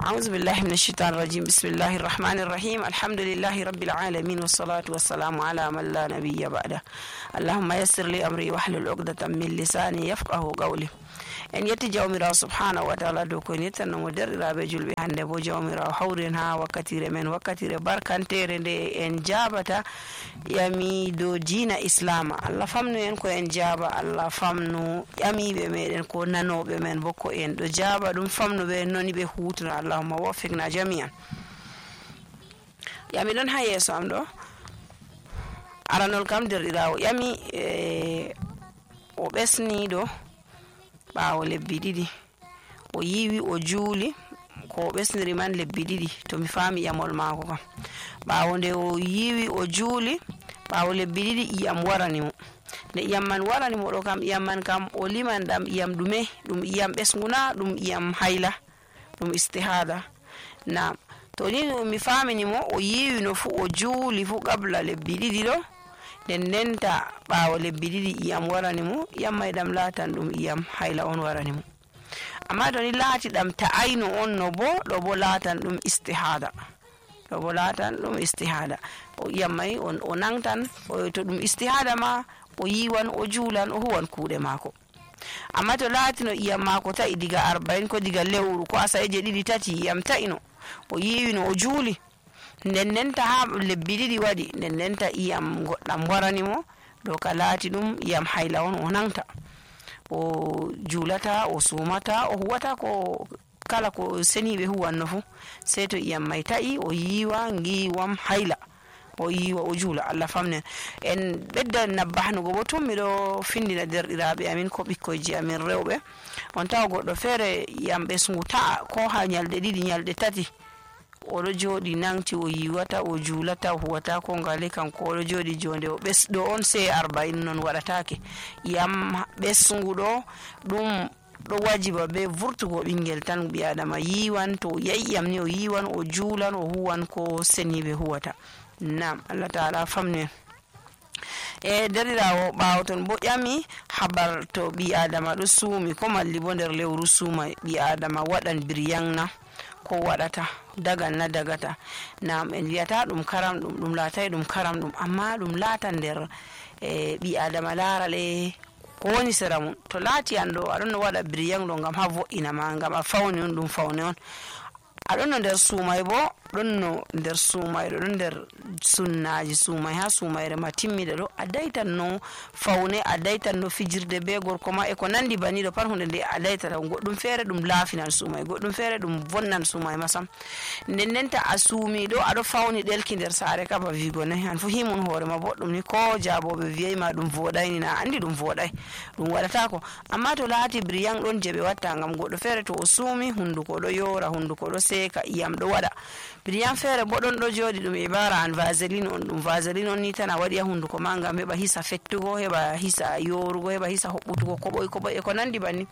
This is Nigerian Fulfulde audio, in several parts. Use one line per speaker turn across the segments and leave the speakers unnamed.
أعوذ بالله من الشيطان الرجيم بسم الله الرحمن الرحيم الحمد لله رب العالمين والصلاة والسلام على من لا نبي بعده اللهم يسر لي أمري واحلل عقدة من لساني يفقه قولي en yetti jawmirawo subhanahu wa ta'ala dow ko en yettannomo derɗiraɓe julɓe hande bo jawmirawo hawren ha wakkatire men wakkatire barkantere nde en jabata yami dow diina islama allah famnu en ko en jaba allah famnu yamiɓe meɗen ko nanoɓe men bo ko en ɗo jaba ɗum famnuɓe noni ɓe hutuna allahumma waffiqna jami'an yami ɗon ha yeeso am ɗo aranol kam derɗirawo yami o ɓesniɗo ɓawo lebbi ɗiɗi o yiwi o juuli ko ɓesniri man lebbi ɗiɗi to mi faami iyamol maako kam ɓawo nde o yiwi o juuli ɓawo lebbi ɗiɗi iyam warani mo nde iyam man warani mo ɗo kam iyam man kam o liman ɗam iyam ɗume ɗum iyam ɓesnguna ɗum iyam hayla ɗum istihada na to ni mi faamini mo o yiwi no fu o juuli fu qabla lebbi ɗiɗi ɗo nden ndenta ɓawo lebbi ɗiɗi iyam warani mo iyam may ɗam laatan ɗum iyam hayla on warani mo amma to ni laati ɗam ta'ayno on no bo ɗo bo laatan ɗum istihada ɗo bo laatan ɗum istihada o iyam may o nangtan to ɗum istihada ma o yiwan o juulan o huwan kuuɗe maako amma to laati no iyam maako ta'i diga 40 ko diga lewru ko asaeje ɗiɗi tati iyam ta'ino o yiwino o juuli nden ndenta ha lebbi ɗiɗi waɗi nden ndenta iyam goɗɗam warani mo ɗo ka laati ɗum iyam hayla on o nangta o juulata o sumata o huwata ko kala ko seniɓe huwanno fu sey to iyam may ta'i o yiwa ngiwam hayla o yiwa o juula allah famnen en ɓedda nabbahnugo bo tun miɗo findina derɗiraɓe amin ko ɓikkoyji amin rewɓe on tawa goɗɗo feere iyam ɓesngu ta'a ko ha ñalɗe ɗiɗi ñalɗe tati oɗo jooɗi nangti o yiwata o juulata o huwata ko ngale kanko oɗo jooɗi jonde o ɓesɗo on sey 40 non waɗatake iyam ɓesngu ɗo ɗum ɗo wajiba be vurtugo ɓingel tan ɓi adama yiwan to yayyam ni o yiwan o juulan o huwan ko seniɓe huwata nam allah taala famnen e derɗirawo ɓawo ton bo ƴami habar to ɓi adama ɗo suumi ko malli bo nder lewru suuma ɓi adama waɗan biryanna ko waɗata dagan na dagata nam en wiyata ɗum karam ɗum laatay ɗum karam ɗum amma ɗum laatan nder ɓi adama laarale ko woni sera mum to laati an ɗo aɗon no waɗa biryan ɗo ngam ha vo'ina ma ngam a fawni on ɗum fawne on aɗon no nder suumay bo ɗon no nder suumayɗo ɗon nder sunnaji suumay ha suumayre ma timmiɗa ɗo a daytan no fawne a daytan no fijirde be gorko ma e ko nandi baniɗo pat hunde nde a daytata goɗɗum feere ɗum laafinan suumay goɗɗum feere ɗum vonnan suumay masam nden ndenta a suumiɗo aɗo fawni ɗelki nder saare kaba wigo nayi an fu himun hoorema boɗɗum ni ko jaaboɓe wiyayma ɗum voɗayni na andi ɗum voɗay ɗum waɗatako amma to laati briyan ɗon je ɓe watta ngam goɗɗo feere to o suumi hunduko ɗo yoora hunduko ɗo seeka iyam ɗo waɗa briyan feere bo ɗon ɗo jooɗi ɗum ibara an vaseline on ɗum vaseline on ni tan a waɗi ha hunduko ma ngam heɓa hisa fettugo heɓa hisa yorugo heɓa hisa hoɓɓutugo koɓoy e ko nandi banni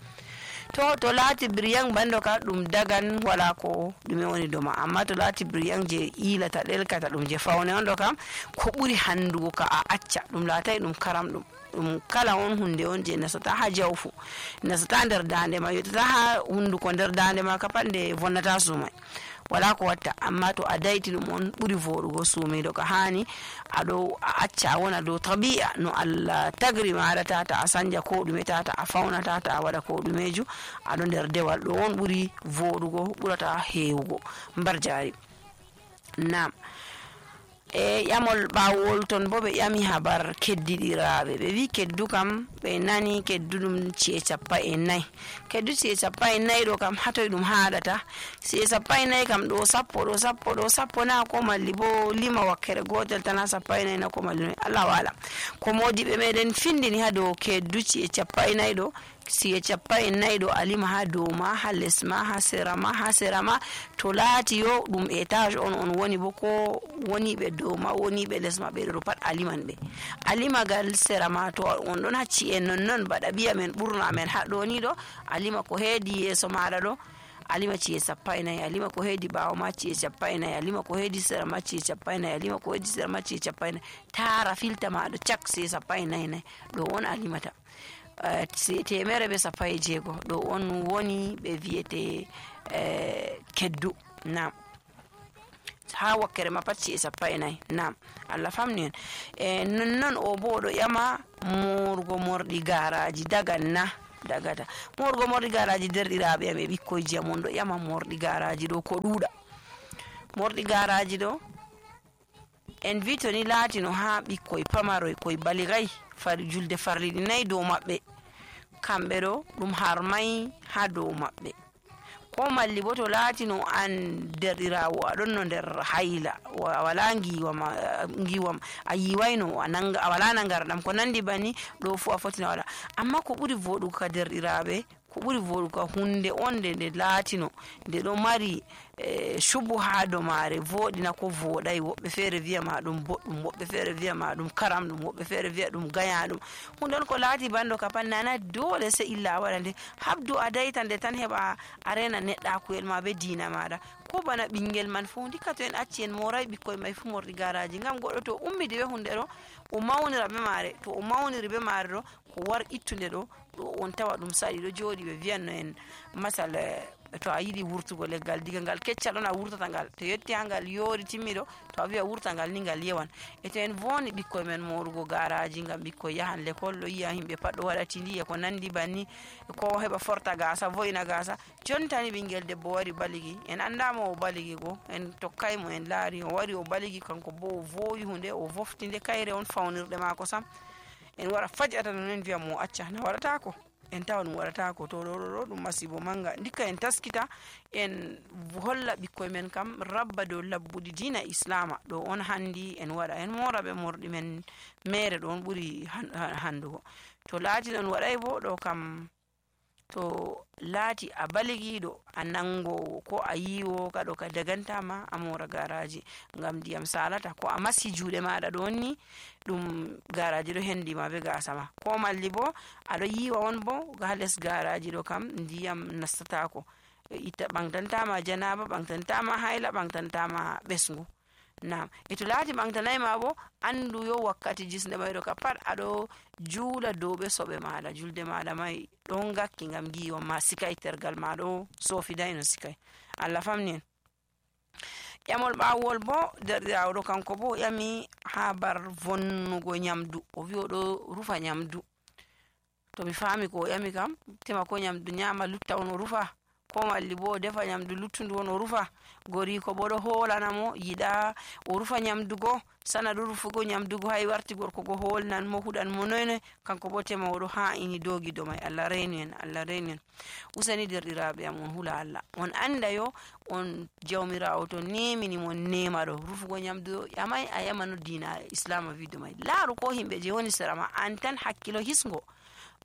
to laati briyan bando ka ɗum dagan wala ko ɗume woni doma amma to laati briyan je ilata ɗelkata ɗum je fawne on ɗo kam ko ɓuri handugo ka a acca ɗum laatay ɗum karam ɗum kala on hunde on je nasata ha jawfu nasata nder dande ma yottata ha hunduko nder dande ma ka pat nde vonnata sumay wala ko watta amma to a dayti ɗum on ɓuri voɗugo suumiɗo ka hani aɗo a acca a wona dow tabi'a no allah tagri maɗa tata a sanja ko ɗume tata a fawna tata a waɗa ko ɗumeju aɗo nder dewal ɗo on ɓuri voɗugo ɓurata hewugo mbar jari nam e ƴamol ɓawol ton bo ɓe ƴami habar keddiɗiraɓe ɓe wi keddu kam ɓe nani keddu ɗum ci'e 40 keddu ci'e 40 ɗo kam hatoy ɗum haɗata ci'e 40 kam ɗo sappo na ko malli bo lima wakkere gotel tan ha 40 na ko malli Allah wala ko modiɓe meɗen findini ha dow keddu ci'e 40 ɗo siye 40 ɗo alima ha dow ma ha les ma ha sera ma to laati yo ɗum étage on woni bo ko woni ɓe dow ma woni ɓe les ma ɓe ɗo pat aliman ɓe alimagal sera ma to on ɗon hacci en non baɗa ɓiya men ɓurna men ha ɗo ni ɗo alima ko heedi yeeso maɗa ɗo alima ci'e 40 alima ko heedi ɓawo ma ci'e 40 alima ko heedi sera ma ci'e 40 alima ko heedi sera ma ci'e 40 tara filta maɗo cak ci'e 40 ɗo on alimata 116 ɗo on woni ɓe wiyete keddu. Nam ha wakkere ma pat 14 nam Allah famni en nonnon o bo ɗo ƴama morgo morɗi garaji dagata morgo morɗi garaji derɗiraɓe am e ɓikkoyji am on ɗo ƴama morɗi garaji ɗo ko ɗuuɗa. Morɗi garaji ɗo en wi to ni laatino ha ɓikkoy pamaroy koye baligay julde farliɗi 4 dow maɓɓe, kamɓe ɗo ɗum harmay ha dow maɓɓe. Ko malli bo to laatino an derɗirawo aɗon no nder hayla a wala giwam a yiwayno a wala nangarɗam ko nandi banni, ɗo fu a fotina wala. Amma ko ɓuri voɗugo ka derɗiraɓe, ko ɓuri voɗugo ka hunde on nde laatino nde ɗo mari shubu ha do mare voɗina ko voɗay. Woɓɓe feere wiya ma ɗum boɗɗum, woɓɓe feere wiya ma ɗum karam ɗum, woɓɓe feere wiya ɗum gaya ɗum. Hunde on ko laati bando ka pat nana dole sai illa a waɗa nde. Habdu a dayta nde tan heɓa a rena neɗɗakuyel ma be diina maɗa. Ko bana ɓingel man fu ndikka to en acci en moray ɓikkoy may fu morɗi garaji, ngam goɗɗo to ummidi be hunde ɗo o mawnira be mare, to o mawniri be mare ɗo ko war ittude ɗo on tawa ɗum saɗi ɗo jooɗi. Ɓe wiyanno en masal to a yiɗi wurtugo leggal diga ngal keccal ɗon a wurtata ngal, to yetti ha ngal yoori timmiɗo to a wiya wurta ngal ni ngal yewan. E to en voni ɓikkoy men morugo garaji ngam ɓikkoy yahan l'école, ɗo yiya himɓe pat ɗo waɗa tindi e ko nandi banni, ko heɓa forta gasa vo'ina gasa. Jontani ɓingel debbo wari baligi, en andama o baligi go, en tokkaymo en laari o wari o baligi, kanko bo o vowi hunde o voftinde kayre on fawnirɗe mako sam. En wara fajata non en wiya mo acca na waɗatako, en tawa ɗum waɗatako. To ɗo ɗum masibo manga. Ndikka en taskita en holla ɓikkoy men kam rabba dow labbuɗi diina islama ɗo on handi en waɗa, en mora ɓe morɗi men mere ɗo on ɓuri handugo. To laati ɗon waɗay bo ɗo kam to laati a baligiɗo a nangowo ko a yiwo kaɗo ka dagantama a mora garaji ngam ndiyam salata. Ko a masi juuɗe maɗa ɗo ni ɗum garaji ɗo hendima be gasa ma, ko malli bo aɗo yiwa on bo ha les garaji ɗo kam ndiyam nastatako, itta ɓantantama janaba, ɓantantama hayla, ɓantantama ɓesgu. Nam e to laati ɓantanayma bo andu yo wakkati jisde mayɗo ka pat aɗo juula dow ɓe soɓe maɗa, julde maɗa may ɗon gakki ngam giwa ma sikay, tergal ma ɗo sofidayno sikay. Allah famni en. Ƴamol ɓawol bo derɗirawo kanko bo ƴami ha bar vonnugo nyamdu, o wi oɗo rufa nyamdu. To mi fami ko o ƴami kam tema ko nyamdu nyama lutta on o rufa, ko malli bo o defa nyamdu luttundu on o rufa. Goriko bo ɗo holanamo yiɗa o rufa nyamdugo, sana ɗo rufugo nyamdugo hay warti gorko go holnan mo huɗan mo noyne, kanko bo tema oɗo ha'ini dogi do may. Allah reni en, Allah reni en. Usani derɗiraɓe am on hula Allah, on anda yo on jawmirawo to nemini mon nema ɗo rufugo nyamdu ƴamay a yamano diina islama wido may. Laaru ko himɓe je woni sera ma, an tan hakkilo hisgo.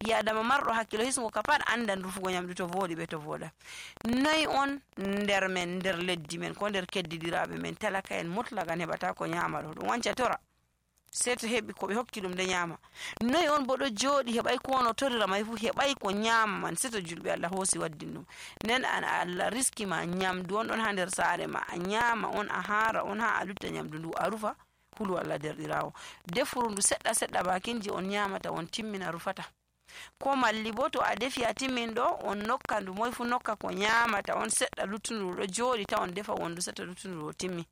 Yadama marɗo hakkilo hisgo ka pat andan rufugo nyamdu to voɗi be to voɗa. Noy on nder men, nder leddi men ko nder keddidiraɓe men talaka en mutlagan heɓata ko nyama ɗo, ɗum wanca tora sei to heɓi ko ɓe hokki ɗum de nyama. Noy on bo ɗo jooɗi heɓay ko ono torira may fu, heɓay ko nyama man sei to julɓe Allah hoosi waddin ɗum. Nden an Allah riski ma nyamdu on ɗon ha nder saare ma, a nyama on, a hara on, ha a lutta nyamdu ndu a rufa. Hulu Allah derɗirawo, defuru ndu seɗɗa seɗɗa bakinji on nyamata on timmina rufata. Ko malli bo to a defi a timmin ɗo on nokka ndu, moy fu nokka ko nyamata on seɗɗa, luttundu ɗo jooɗi ta on defa wondu seɗɗa luttundu ɗo timmi.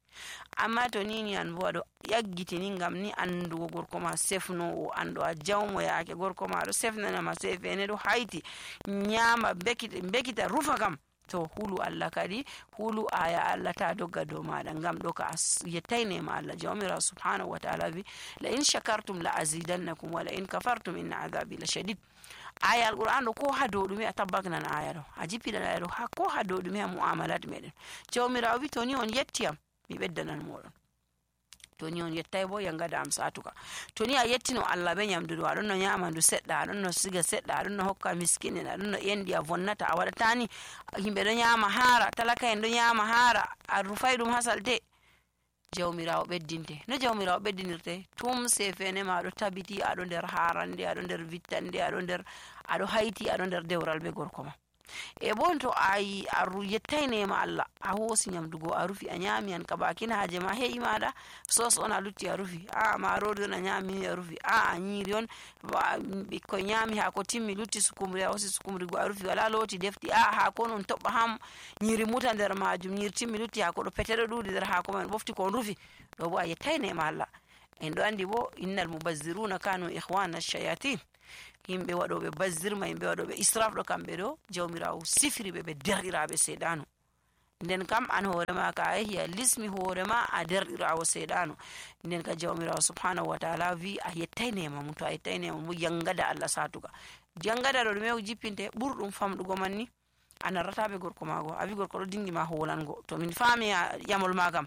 Amma to nini an bo aɗo yaggitini ngam ni andugo gorko ma sefnowo, ando a jawmo yaake gorko ma ɗo sefnanama sefene ɗo hayti nyama bekita rufa kam, to hulu Allah kadi hulu aya Allah ta dogga dow maɗa, ngam ɗo ka yettaynema Allah jawmirawo subhanahu wa ta'ala wi la in shakartum la azidannakum wa la in kafartum inna adhabi la shadid. Aya alquran ɗo ko ha dow ɗume a tabbaknan aya ɗo, a jippiɗan aya ɗo ha ko ha dow ɗume ha mu'amalat meɗen. Jawmirawo wi to ni on yettiyam mi ɓeddanan moɗon, to ni on yettay bo yangada am satuka. To ni a yettino Allah be nyamdu ɗo, aɗon no nyama ndu seɗɗa, aɗon no siga seɗɗa, aɗon no hokka miskine, aɗon no endi a vonnata, a waɗatani himɓe ɗo nyama hara, talaka en ɗo nyama hara, a rufay ɗum ha salte. Jawmirawo ɓeddinte, no jawmirawo ɓeddinirte? Tum sefene ma aɗo tabiti aɗo nder harande, aɗo nder vittande, aɗo hayti, aɗo nder dewral be gorko ma. e bon to ayi aru yettayne ma Allah a hosi nyamdugo a rufi a nyami an ka bakin haje ma he'i mada sos on a lutti a rufi a marori on a nyami a rufi a nyiri on bikko nyami ha ko timmi lutti sukumri a hosi sukumri go a rufi wala loti defti ha ko non tobba ham nyiri muta nder majum nyiri timmi lutti ha ko do petero dudi nder ha ko man bofti ko rufi do bo a yettayne ma Allah en do andi bo innal mubazziruna kanu ikhwana ash-shayatin himbe wadobe bazzirma himbe wadobe israf do kambe do jawmirawo sifiri be derɗiraɓe seedanu nden kam an hoore ma ka yahi lismi hoore ma a derɗirawo seedanu nden ka jawmirawo subhanahu wa ta'ala vi a yettaynema mum to a yettaynema mum yangada Allah satuga jangada do me jippinte burdum famdugo manni anarratabe gorko mago abi gorko do dingi ma holango to min fami yamol magam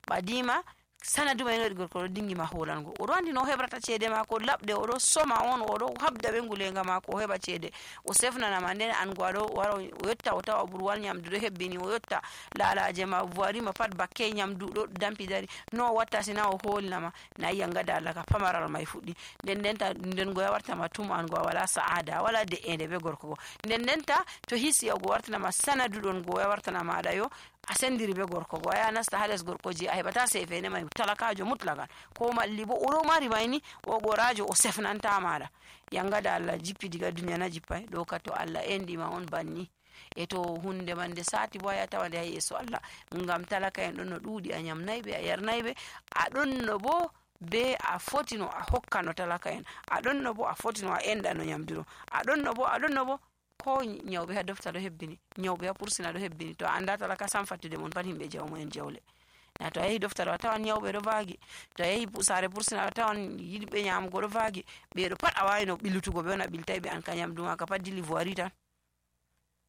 badima sanadu may no gorko do dingi ma holango o do andi no hebrata cede mako labde o do soma on o do habda be ngulenga mako o heba cede o sefnana ma nden an gwado waro o yotta o tawa burwal nyamdu do hebbini o yotta lalaje ma voiri ma pat bakke nyamdu do dampi dari no watta sina o holnama na yangada Allah ka pamaral may fuddi nden go warta ma tum an go wala saada wala de ende be gorko go nden ta to hisi o go warta ma sanadu don go warta na ma da yo asendiri be gorko go ya nasta hales gorko ji a hebata sefene may talakajo mutlagan ko malli bo o mari mayni o gorajo o sefnanta mada yangada Allah jippi diga duniya na jippay do ka to Allah endi ma on banni e to hunde mande sati boya tawande hay yeso Allah ngam talaka en don no dudi a nyamnaybe a yarnaybe a don no bo be a fotino a hokkano talaka en a don no bo a fotino a enda no nyamdiro a don no bo ko nyawbe ha dofta do hebbini nyawbe ha pursina do hebbini to anda talaka sam fattude mon pat himbe jawmo en jawle na to yahi dofta do tawan nyawbe do vaagi to yahi pusare pursina do tawan yidbe nyamgo do vaagi be do pat a wayi no bilutugo be na biltaybe an kanyam duma ka pat dili voiri tan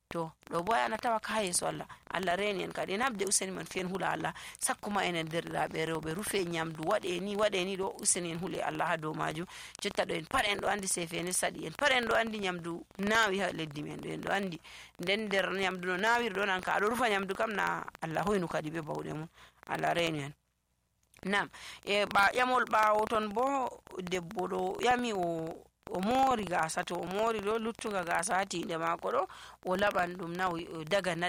to do boya na tawa ka yeso Allah reni en kadi nabde useni man fen hula Allah sakkuma enen derdiraabe rewbe rufe nyamdu wade ni do useni en hule Allah ha do maju jotta do en par en do andi sefene sadi en par en do andi nyamdu nawi ha leddi men do en do andi den der nyamdu no nawi do nan ka do rufa nyamdu kam na Allah hoynu kadi be bawde mun Allah reni en nam e ba yamol baawo ton bo debbo do yami o mori gasa to o mori do luttuga gasa tinde mako do o laban dum na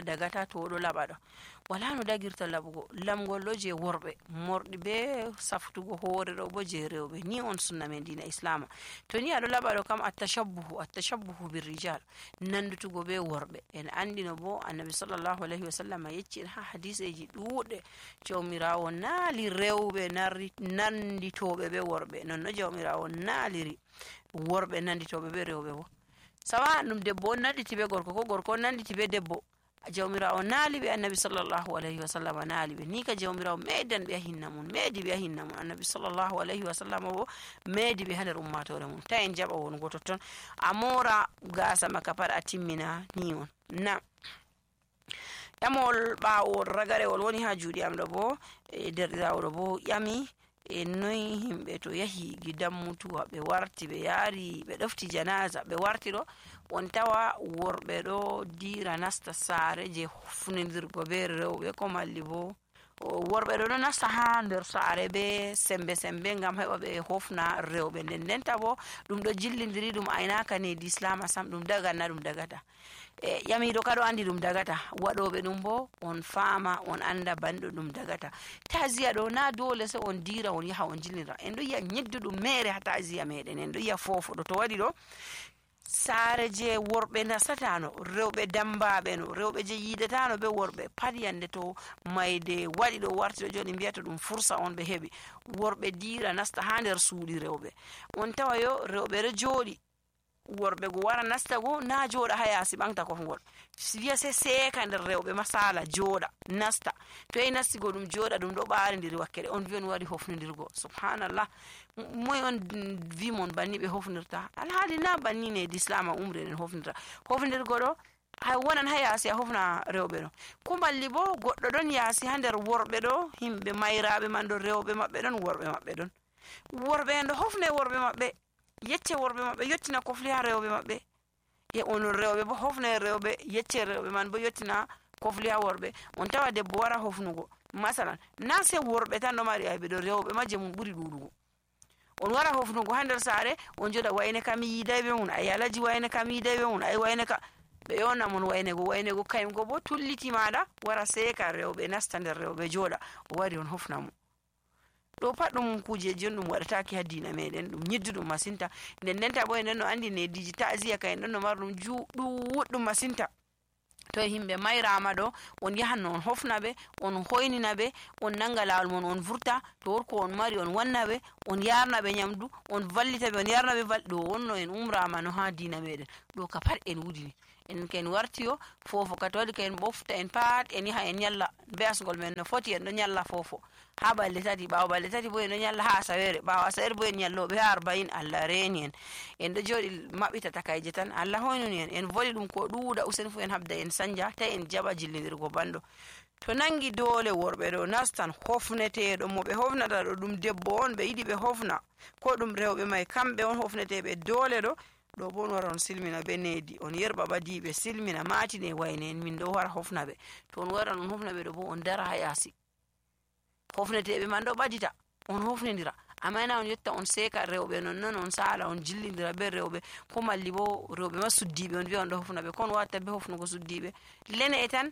dagata to do laba do wala no dagirta labugo lamgol do je worbe mordi be saftugo hoore do bo je rewbe ni on sunna men dina islam to ni ado laba do kam at-tashabbuhu birrijal nandutugo be worbe en andino bo annabi sallallahu alaihi wasallam yecci ha hadiseji duude jawmirawo naali rewbe nanditobe be worbe non no jawmirawo naaliri worbe nanditobe be rewbe bo sawa dum debbo nanditi be gorko ko gorko nanditi be debbo jawmirawo naali be annabi sallallahu alaihi wasallam naali be ni ka jawmirawo medan be hinna mun annabi sallallahu alaihi wasallam bo medi be hander ummatore mun ta en jaba won goto ton amora gasa maka par atimmina ni on na yamol baawo ragarewol woni ha juudi am do bo derdirawdo bo yami e noy himbe to yahi gidam mutuwa be warti be yari be dofti janaza be warti do on tawa worbe do dira nasta sare je funindirgo be rewbe ko malli bo worbe do nasta ha nder sare be sembe ngam heba be hofna rewbe den tabo dum do jillindiri dum aynaka ne di islam sam dum dagata yami do kado andi dum dagata wadobe dum bo on fama on anda bando dum dagata taziya do na dole se on dira on yaha on jillindira en do ya nyeddu dum mere ha taziya meden en do ya fofo do to wadi do sare je worbe nasatano rewbe dambabe no rewbe je yidetano be worbe padiyande to mayde wadi do warti do joni biata dum fursa on be hebi worbe dira nasta ha nder suudi rewbe on tawayo rewbe re jodi worbe go wara nasta go na joda hayasi bangta ko ngol wiya se seka nder rewbe masala joda nasta to e nasti go dum joda dum do baari ndiri wakkere on vion wadi hofndirgo subhanallah moy on vi mon banni be hofnirta alhaali na banni ne islama umre ne hofndirgo do hay wonan hayasi a hofna rewbe do ko malli bo goddo don yasi ha nder worbe do himbe mayraabe man do rewbe mabbe don worbe mabbe don worbe en do hofne worbe mabbe yecce worbe mabbe yottina ko fli ha rewbe mabbe e on rewbe bo hofne rewbe yecce rewbe man bo yottina ko fli ha worbe on tawa debbo wara hofnugo masalan na se worbe tan no mari aybe do rewbe majje mun buri dudugo on wara hofnugo ha nder sare on joda wayne kam yidaybe mun ay alaji wayne kam yidaybe mun ay wayne ka ɓe yona mon waynego kaygo bo tulliti maɗa wara seka rewɓe nasta nder rewɓe joɗa o wari on hofna mo. ɗo pat ɗum kujeji on ɗum waɗataki ha dina meɗen, ɗum nyidduɗum masinta. nden ndenta bo en no andi nediji ta'ziya ka en ɗon no marɗum ɗuɗɗum masinta. to himɓe mayrama ɗo on yahan on hofna ɓe, on hoynina ɓe, on nanga lawol mon on vurta, to worko on mari on wanna ɓe, on yarna ɓe nyamdu, on vallita ɓe, on yarna ɓe ɗo wonno en umrama no ha dina meɗen. ɗo ka pat en wudini en ken wartiyo fofo ka to waɗi ka en ɓofta en pat en yaha en nyalla be'asgol men no foti en ɗo nyalla fofo ha balɗe tati, ɓawo balɗe tati bo en ɗo nyalla ha asawere, ɓawo asawere bo en nyalloɓe ha 40. Allah reni en ɗo joɗi maɓɓita takayje tan. Allah hoynuni en voli ɗum ko ɗuuɗa usen fu en habda en sanja ta en jaɓa jillidirgo banɗo. to nangi dole worɓe ɗo nastan hofneteɗo mo ɓe hofnata ɗo ɗum debbo on ɓe yiɗi ɓe hofna, ko ɗum rewɓe mai kamɓe on hofneteɓe dole ɗo bo on wara on silmina be nedi, on yerɓa ɓadiɓe silmina matine wayne en min ɗo wara hofna ɓe. to on waran on hofna ɓe ɗo bo on dara ha yasi, hofneteɓe man ɗo ɓadita on hofnidira, amma na on yetta on seka rewɓe nonnon on sala on jillidira be rewɓe, ko malli bo rewɓe ma suddiɓe on wiya on ɗo hofna ɓe, kon watta be hofnugo suddiɓe. lene tan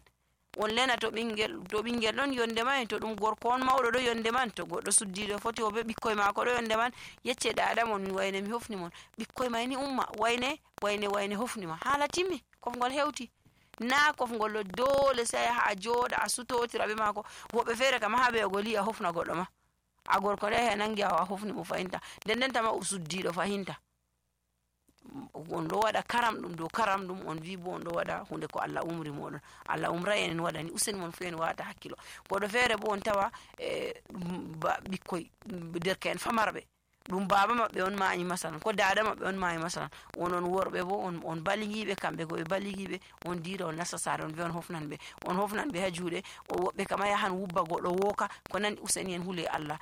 on lena to ɓingel ɗon yonde man, to ɗum gorko on mawɗo ɗo yonde man, to goɗɗo suddiɗo foti o be ɓikkoy mako ɗo yonde man, yecce dada mon wayne mi hofni mon, ɓikkoy may ni umma wayne hofnima, hala timmi, kofgol hewti. na kofgol ɗo dole sai ha joɗa a sutotira be mako. woɓɓe fere kam ha ɓe goli a hofna goɗɗo ma, a gorko ɗo nangi a hofni mo fahinta, nden tama suddiɗo fahinta. on ɗo waɗa karam ɗum dow karam ɗum, on wi bo on ɗo waɗa hunde ko Allah umri moɗon. Allah umrai en waɗani, useni mon fu en wata hakkilo. goɗɗo fere bo on tawa ɓikkoy derke'en famarɓe, ɗum baba maɓɓe on mayi masalan, ko dada maɓɓe on mayi masalan, onon worɓe bo on baligiɓe, kamɓe go ɓe baligiɓe, on dira on nasta sare on on hofnan ɓe ha juuɗe. woɓɓe kama yahan wubba goɗɗo woka ko nandi, useni en hule Allah.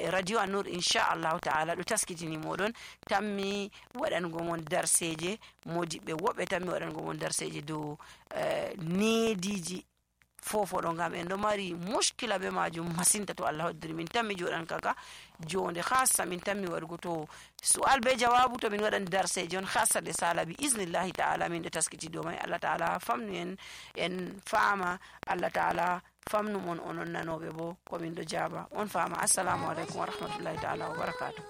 radio An-Nur inchallahu ta'ala ɗo taskitini moɗon, tammi waɗango mon darseje modiɓɓe, woɓɓe tammi waɗango mon darseje dow nediji fofo ɗo, ngam en ɗo mari muskila be majum masinta. to Allah hoddiri min tammi joɗan kaka jonde khassa min tammi waɗugo to su'al be jawabu, to min waɗan darseje on khassa ɗe sala bi iznillahi ta'ala min ɗo taskiti dow mai. Allah ta'ala famnu en fama, Allah ta'ala famnu mon onon nanoɓe bo ko min ɗo jaba on fama. assalamu alaikum wa rahmatullahi ta'ala wa barakatuh.